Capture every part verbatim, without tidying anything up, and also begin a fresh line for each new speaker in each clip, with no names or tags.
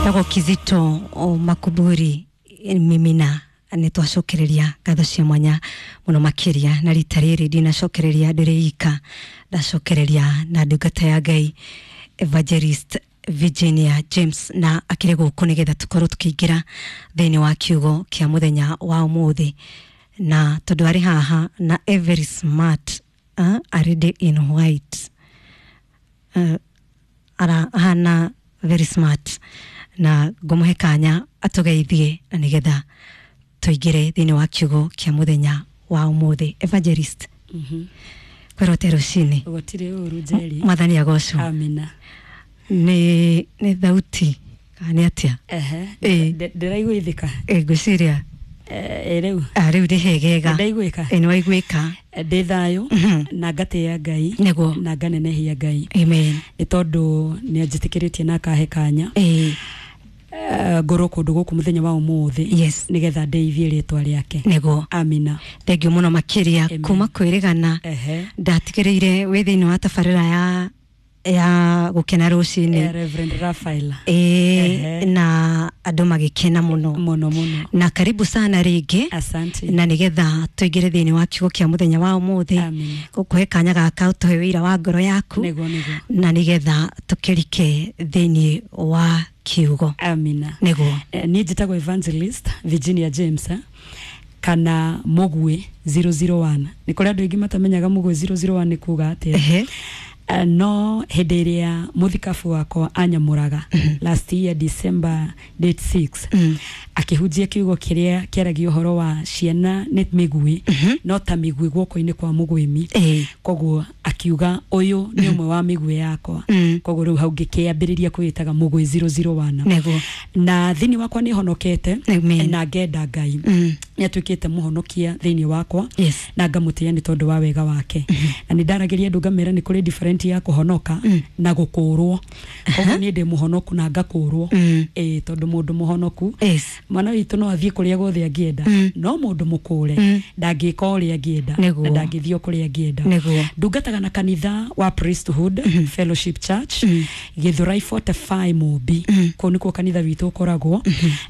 Tago Kizito o Makuburi mimina nä twacokereria ngatho cia mwanya muno makiria na rita rĩrĩ ndinacokereria ndĩrĩ ika ndacokereria na ndungata ya Ngai Evangelist Virginia James na akĩrĩ gũkũ nĩgetha tũkorwo tũkĩingĩra thĩinĩ wa kiugo kĩa mũthenya wa ũmũthĩ na tondũ arĩ haha na every smart uh, arĩ in white uh, ara ahana very smart na ngũmũhe kanya atũgeithie na nĩgetha tũingĩre thĩinĩ wa kiugo kĩa mũthenya wa ũmũthĩ. Evangelist,
Mhm.
kwĩrote rũcinĩ.
Gũtirĩ ũru Njeri.
Mwathani agocwo.
Amina.
Nĩ nĩ thauti kana nĩ atĩa?
Ehe.
Ĩĩ.
Ndĩ- Ndĩraiguithĩka.
Ĩ, ngwĩciria
Eh, rĩu.
ah, rĩu ndĩ hegega.
Ndaiguĩka.
Ĩ, nĩ waiguĩka.
Ndĩ thayũ
Mhm.
na ngatĩĩa Ngai
Nĩguo.
na nganenehia Ngai
Amen.
nĩ tondũ nĩ anjĩtĩkĩrĩtie na akahe kanya
Ĩ,
eh, ngorwo kũndũ gũkũ mũthenya wa ũmũthĩ
Yes.
nĩgetha ndeithie rĩtwa rĩake.
Nĩguo.
Amina.
Thengiũ mũno makĩria
Amen.
kuma kwĩrĩgana
Ehe.
ndatigĩrĩire wĩ thĩinĩ wa tabarĩra ya ya gũkena rũcinĩ.
Eh, Reverend Raphael.
Ĩ,
Ehe.
na andũ magĩkena mũno
Mũno mũno.
na karibu sana rĩngĩ
Asante.
na nĩgetha tũingĩre thĩinĩ wa kiugo kĩa mũthenya wa ũmũthĩ.
Amina.
Gũkũhe kanya gaka ũtũhe wĩira wa ngoro yaku
Nĩguo nĩguo.
na nĩgetha tũkĩrike thĩinĩ wa kiugo.
Amina.
Nĩguo.
Eh, niĩ njĩtagwo Evangelist Virginia James eh, kana Mũguĩ zero zero one. Nĩ kũrĩ andũ aingĩ matamenyaga Mũguĩ zero zero one nĩ kuga atĩa.
Ehe.
Eh, no hĩndĩ ĩrĩa mũthikabu wakwa anyamũraga last year December date six
Mm.
akĩhunjia kiugo kĩrĩa kĩaragia ũhoro wa ciana nĩ mĩguĩ no ta mĩguĩ guoko-inĩ kwa mũgwĩmi.
Ĩĩ.
Koguo akiuga ũyũ nĩ ũmwe wa mĩguĩ yakwa.
Mm.
Koguo rĩu hau ngĩkĩambĩrĩria kwĩĩtaga Mũguĩ zero zero one.
Nĩguo.
Na thĩinĩ wakwa nĩ honokete
Amen.
na ngenda Ngai
Mm.
nĩ atuĩkĩte mũhonokia thĩinĩ wakwa
Yes.
na ngamũtĩĩa nĩ tondũ wa wega wake. Na nĩ ndaragĩria andũ ngamera nĩ kũrĩ different ya kũhonoka na gũkũrwo. Koguo niĩ ndĩ mũhonoku na ngakũrwo.
Mm.
Ĩĩ, tondũ mũndũ mũhonoku
Yes.
mwana witũ no athiĩ kũrĩa guothe angĩenda
Mm.
no mũndũ mũkũre
Mm.
ndangĩka ũrĩa angĩenda
Nĩguo.
na ndangĩthiĩ o kũrĩa angĩenda.
Nĩguo.
Ndungataga na kanitha wa Priesthood Fellowship Church Gĩthũrai forty-five Mũmbi. Kũu nĩkuo kanitha witũ ũkoragwo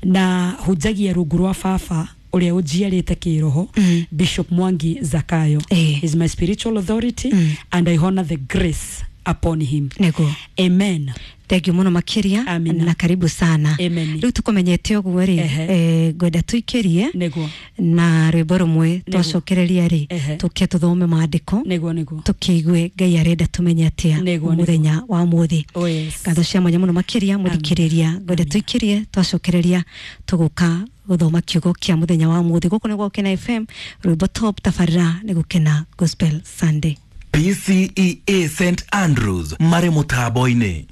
na hunjagia rungu rwa baba ũrĩa ũnjiarĩte kĩroho, Bishop Mwangi Zakayo.
Eh.
Is my spiritual authority and I honor the grace upon him.
Nĩguo.
Amen.
Thengiũ mũno makĩria
Amina.
na karibu sana.
Amen.
Rĩu tũkũmenyete ũguo rĩ,
Ehe.
eh, ngwenda tũikĩrie
Nĩguo.
na rwĩmbo rũmwe twacokereria rĩ
Ehe.
tũke tũthome maandĩko
Nĩguo nĩguo.
tũkĩigue Ngai arenda tũmenye atĩa
Nĩguo, nĩguo.
mũthenya wa ũmũthĩ.
Oh yes.
Ngatho cia mwanya mũno makĩria mũthikĩrĩria ngwenda tũikĩrie twacokereria tũgũka gũthoma kiugo kĩa mũthenya wa ũmũthĩ. Gũkũ nĩ Gũkena F M, rwĩmbo top, tabarĩra nĩ Gũkena Gospel Sunday.
P C E A Saint Andrews marĩ mũtambo-inĩ.